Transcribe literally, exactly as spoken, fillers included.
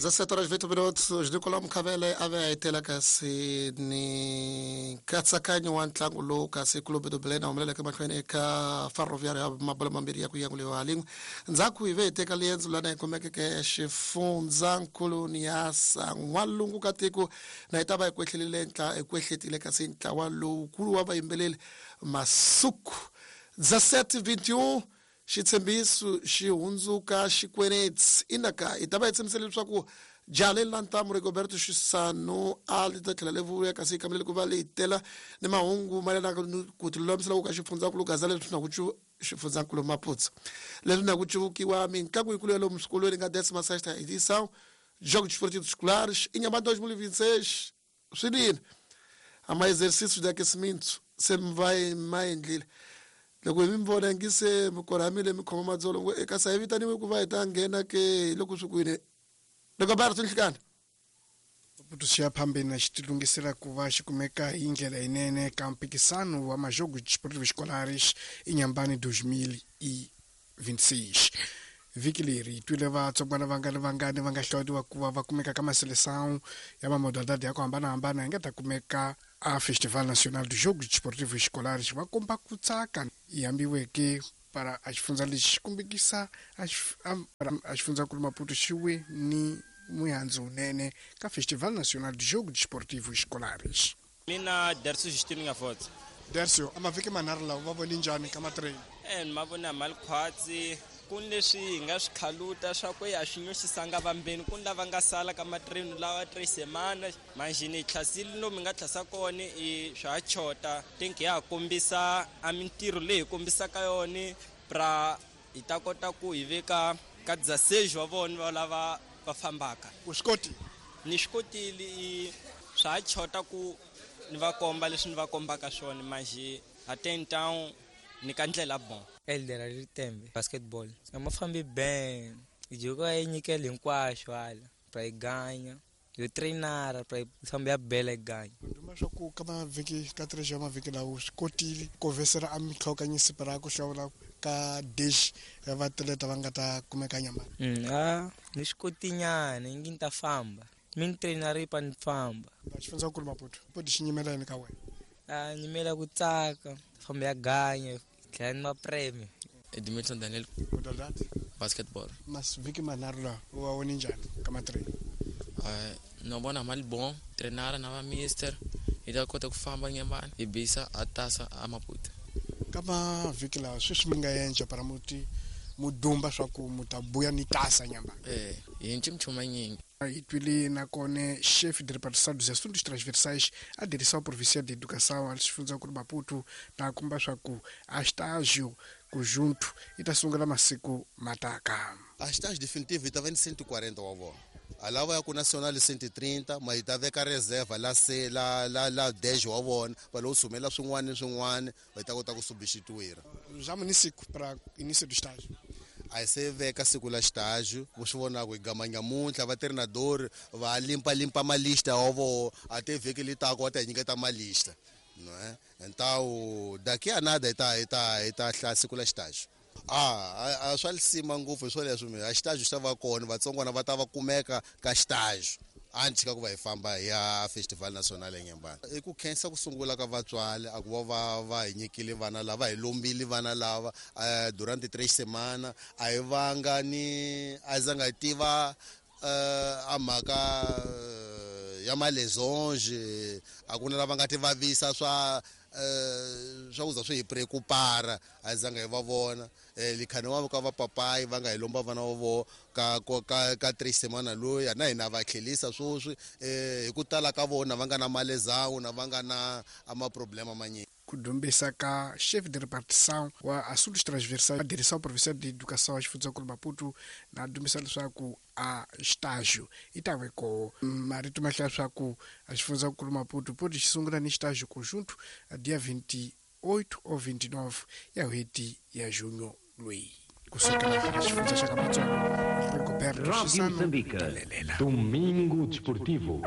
dezessete horas vinte minutos Nicolau Mkhavele a ve a etela kasi ni nkatsakanyo wa ntlangu lowu kasi Clube do Belém humeleleke mahlweni eka Ferroviário ya mabolo mambirhi ya ku yanguliwa lin'we. Ndzhaku hi ve hi teka liendzo lana hi kumekeke xifundzankulu ya N'walungu ka tiko na hi ta va hi kwehlelile ntla hi kwehletile kasi ntlawa lowukulu wa vayimbeleri Masuku. Dezessete vinte e um xitshembiso xi hundzuka xikweneti inaka hi ta va hi tshembisile leswaku jale la ntamu Rigoberto Xisano a li ta tlhela le vuya kasi kambele ku va leyi tela ni mahungu mayelana ku tilulamisela ku ka xifundzankulu gaza leswi na ku xifundzankulu Maputo leswi na ku cuvukiwa mitlangu yikulu ya lomu swikolweni nga décima sexta edição Jogos Desportivos Escolares Inhambane dois mil e vinte e seis swinene a ma exercícios de aquecimento se mi va ma endlile loko hi mi vona ngi se mi korhamile mi khoma madzolo ngo eka sa hi vitaniwe ku va hi ta nghena ke loko swi kwini Rigoberto Nhlikani. Maputo xi ya phambeni na xi tilunghisela ku va xi kumeka hi ndlela yinene ka mpikisano wa Majogos Desportivos Escolares Inhambane dois mil e vinte e seis. Vhiki leri hi twile vatsongwana vangani vangani va nga hlawuriwa ku va va kumeka ka maseleção ya mamodalidade ya ku hambanahambana hi nga ta kumeka a Festival Nacional dos Jogos Desportivos Escolares va komba ku tsaka yi hambiweke para a xifundza lexi xi kombekisa a xifundzankulu Maputo xi we ni muhandzu wunene ka Festival Nacional dos Jogos Desportivos Escolares. Mina Dercio Justino Ngafotsa. Dercio, a mavhiki manharhu lawa va vone njhani ka matrain? E ni ma vona mali khwatsi ku ni leswi hi nga swi khaluta swa ku ya swi nyoxisanga vambeni ku ni lava nga sala ka matrain lawa tres semana manjhini hi tlhasile lomu hi nga tlhasa kona i swa ha chota think ya ha kombisa a mintirho leyi hi kombisaka yona pra hi ta kota ku hi veka ka dezesseis wa vona va lava va fambaka. U swi kotile? Ni swi kotile i swa ha chota ku ni va komba leswi ni va kombaka swona manjhe até então ni ka ndlela bon. Elder Ritembe basketball a ma fambi ben joko yi nyikela hinkwaswo hala pra yi ganya yo trainara pra yi famba ya bela yi ganya. Nduma swa ku ka mavhiki ka tres ya mavhiki lawo swi kotile ku vesela a mitlhokanyisi pra ku hlawula ka dish ya vatleta va nga ta kumeka nyama. Mm, a ni swi kotinyana ingi ni ta famba mi ni trainara yi pa ni famba. Xifundzankulu Maputo poti xi nyimela yini ka wena? A nyimela ku tsaka famba ya ganya tlhela ni mapreme. Edmilson Daniel. Modalidade? Basketball. Masivhiki manharhu lawa u wa vone njhani ka matrain? Uh, no vona mali bon trainara na va mister hi ta kota ku famba Nyambane hi bisa a tasa a Maputo. Ka mavhiki lawa sweswi mi nga endla para muti mudumba swa ku mu ta buya ni tasa Nyambane? Eh, hi nci minchumu nyingi. Hi twile nakona chefe de repartição dos assuntos transversais a direção provincial de educação a xifundzankulu Maputo na komba swa ku a estágio conjunto yi ta sungula masiku mataka. A estágio definitivo yi ta va ni cento e quarenta wa vona. A lava ya ku nacional cento e trinta ma yi ta veka reserva la se la la la dez wa vona va lo sumela swin'wana ni swin'wana va ta kota ku substituir. Já município para início do estágio. A hi se veka siku la estágio vo swi vonaka hi gama nyamuntlha va treinador va limpa limpa malista wa vona a te vhiki li taka va ta hi nyiketa malista não é? Então daqui a nada hi ta hi ta hi ta hlaya siku la estágio. Ah, a swa lisima ngopfu hi swoleswo mi a estágio xi ta va kona vatsongwana va ta va kumeka ka estágio anti ka ku va hi famba hi ya Festival Nacional eNyambane. I ku khensa ku sungula ka vatswari a ku va va va hi nyikile vana lava hi lombile vana lava durante tres semana a hi vanga ni a zanga hi tiva a mhaka ya malesonge a ku na lava nga ti vavisa swa swa ku za swi hi preocupara a zanga hi va vona likhani wa ka va papayi va nga hi lomba vana va vona ka ka ka tres semana loyi na hina va tlhelisa swoswi hi ku tala ka vona va nga na malezawu na va nga na ama problema manyingi. Ku dumbisa ka chefe de repartição wa assuntos transversais a direção provincial de educação a xifundzankulu Maputo na dumbisa leswaku a estágio yi ta ve ko marito ma hlaya swa ku a xifundzankulu Maputo poti xi sungula ni estágio conjunto a dia vinte e oito ou vinte e nove ya n'hweti ya junho loyi kusukela xifundza xa ka Matsongo Rigoberto Rádio Xisano Moçambique. Talelela. Domingo Desportivo.